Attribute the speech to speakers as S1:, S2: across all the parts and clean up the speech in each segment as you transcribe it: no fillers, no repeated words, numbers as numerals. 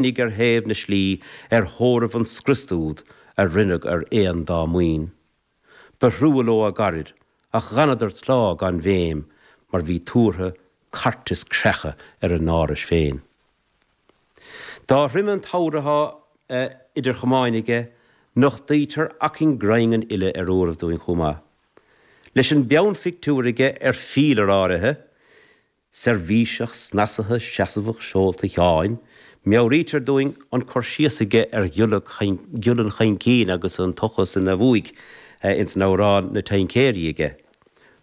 S1: Oinigh ar thaobh na slí ar thórramh an scriosta úd a rinneadh ar aon dá maoin. Ba thrua leo a gcairid ach dh'fhanadar tláth gan bhéim mar bhí tuartha cairt is creacha ar a n-árais féin. Dá throime an t-abhar athá idir chamáin aige, nochtaítear acaing grinn an fhile ar uairibh dúinn chomh maith. Leis an bpeannphictiúr aige ar phílear áirithe, Seirbhíseach snasaithe seasamhach seolta Sheáin, meabhraítear dúinn an cur síos aige ar ghiolla an Chaincín agus an tochas ina bhuaidh ins an amhrán 'Na Taincéirí' aige.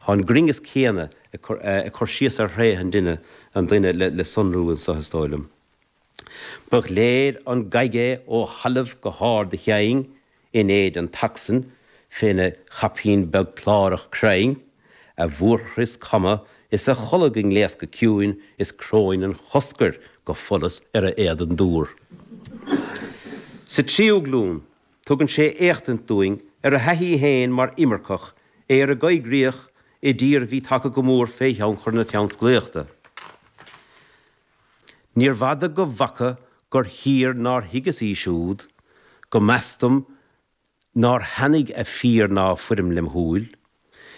S1: Tá an grinneas céanna ag cur síos ar thréithe an duine an duine le sonrú anso is dóigh liom. Ba ghléir an ghaig é ó thalamh go hard a chinn, in éide an tacsain, féna chaipín beag clárach crainn, a bhfuarchrios cama is a cholg i ngléas go ciúin is cróin an choscair go follas ar a éadan dúr. Sa tríú glún, tugann sé éachtaint dúinn ar a thaithí féin mar imirceach, é ar an gcoigríoch i dtír a bhí tagtha go mór fé thionchar na tionsclaíochta. Níorbh fhada go bhfaca gur thír nár thuigeas í siúd, go mb'fheas dom nár thaitnigh a fíor ná a foirm lem shúil.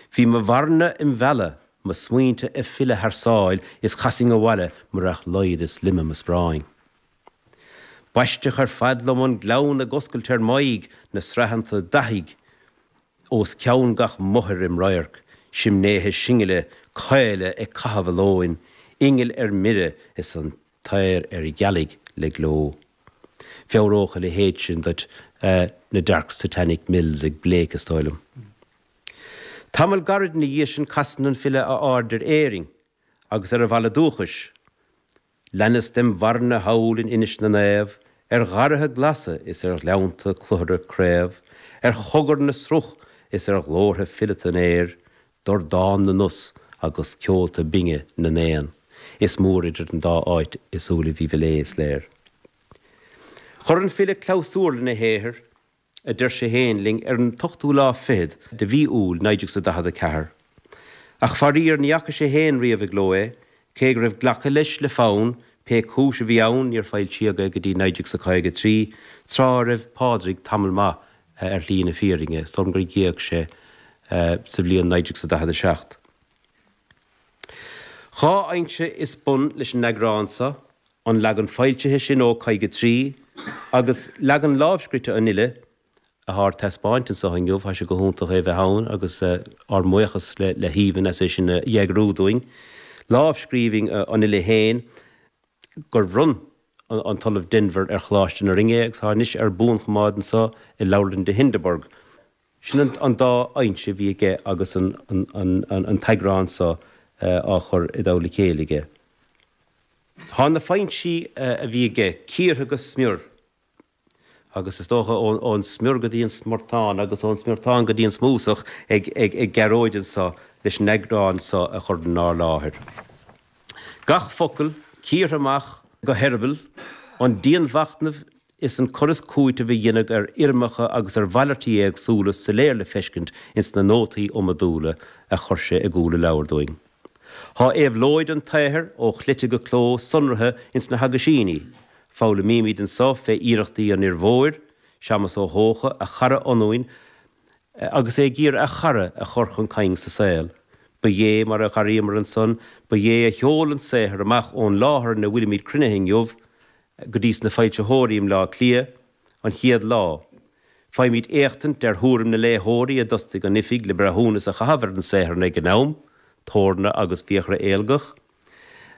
S1: Bhí mo mharana im mhealladh, mo smaointe ag filleadh thar sáil is chasfainn abhaile murach laghad is loime mo spráin. B'aisteach ar fad liom an gleann ag oscailt ar m'aghaidh, na sraitheanta dathaigh Os cionn gach mothair im radharc, simnéithe singile, caola ag caitheamh a lóin, ingil ar mire is an t-aer ar ghealaigh le gleo. Mheabhródh a leithéid sin duit na Dark Satanic Mills ag Blake, is dóigh liom. Tamall gairid ina dhiaidh sin casann an file a aird ar Éirinn agus ar a bhaile dúchais. Leanas dem mharana thall in Inis na Naomh, ar gharraithe glasa is ar ghleannta cluthara craobh, ar chogar na sruth is ar ghlórtha fileata an aeir, dordán na n-os agus ceolta binge na n-éan. Is mór idir an dá áit i súilibh Uí Mhiléadh, is léir. Chuir an file clabhsúr lena shaothar a deir sé féin linn ar an t-ochtú lá fichead de mhí Iúil 1944. Ach faraor ní fhaca sé féin riamh i gcló é, cé go raibh glactha leis le fonn, pé cúis a bhí ann níor foilsíodh é go dtí 1953, tráth a raibh Pádraig tamall maith ar shlí na fírinne, is dóigh liom gur d'éag sé sa bhliain 1947. Dhá fhoinse is bun leis an eagrán seo, an leagan foilsithe sin ó 53 agus leagan lámhscrite an fhile, athá ar taispeáint anso inniu. Tá sé go hiontach é bheith ann agus ár mbuíochas le hAoibhinn as é sin a dh'eagrú dúinn. Lámhscríbhinn an fhile féin gur bhronn an tOllamh Denvir ar Choláiste na Rinne é agus atá anois ar buanchoimeád anso i Leabharlann de Hindeberg. Sin an dá fhoinse a bhí aige agus an t-eagrán so á chur i dtoll a chéile aige. Tá na foinsí a bhí aige cíortha go smior, agus is dócha ón smior go dtí an smiortán agus ón smiortán go dtí an smúsach ag Gearóid anso leis an eagrán so a chur inár láthair. Gach focal cíortha amach go heireaball, an dianmhachnamh is an cur is cúiteamh a deineadh ar fhoirmeacha agus ar mhalairtí éagsúla soiléir le feiscint ins na nótaí iomadúla a chuir sé i gcúl a leabhair dúinn. Thá éabhlóid an tsaothair ó chleite go cló sonraithe ins na haguisíní. Foghlaimímid anso fé iarrachtaí an fhir mhóir, Séamas Ó hEocha, a chara ionúin, agus é ag iarraidh a chara a chur chun cinn sa saol. Ba é, mar a dh'airíomar ansan, ba é a sheol an saothar amach ón láthair ina bhfuilimid cruinnithe inniu go dtí sna foilsitheoirí i mBleá Cliath an chéad lá. Faighimid éachtaint ar thuairim na léitheoirí a d'fhostaigh an Oifig le breithiúnas a chaitheamh ar an saothar ag an am, Torna agus Fiachra Éilgeach.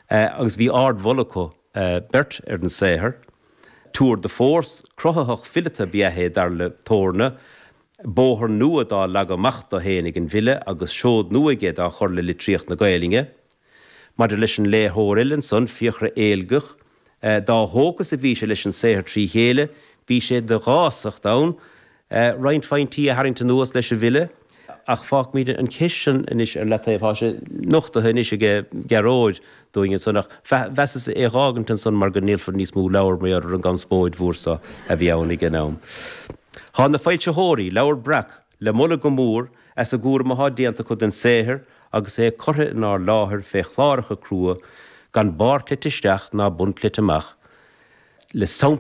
S1: agus bhí ardmholadh acu beirt ar an saothar. Tour de force cruthaitheach fileata ba ea é, dar le Torna, bóthar nua dá leagadh amach dó féin ag an bhfile agus seod nua aige dá chur le litríocht na Gaelainne. Maidir leis an léitheoir eile ansan, Fiachra Éilgeach, dá thógtha is a bhí sé leis an saothar trí chéile, bhí sé de dhásacht ann roinnt phointí a tharraingt anuas leis an bhfile, ach fágfaimid an cheist sin anois ar leataobh. Tá sé nochtaithe anois aige Gearóid dúinn ansan, ach mheasas é a dh'fhágaint ansan mar go ndíolfar níos mó leabhar mar gheall ar an gconspóid mhór so a bhí ann ag an am. Tá na foilsitheoirí, Leabhar Breac, le moladh go mór as an gcúram athá déanta acu den saothar agus é curtha inár láthair fé chláracha crua gan barr cleite isteach ná bun cleite amach. Le.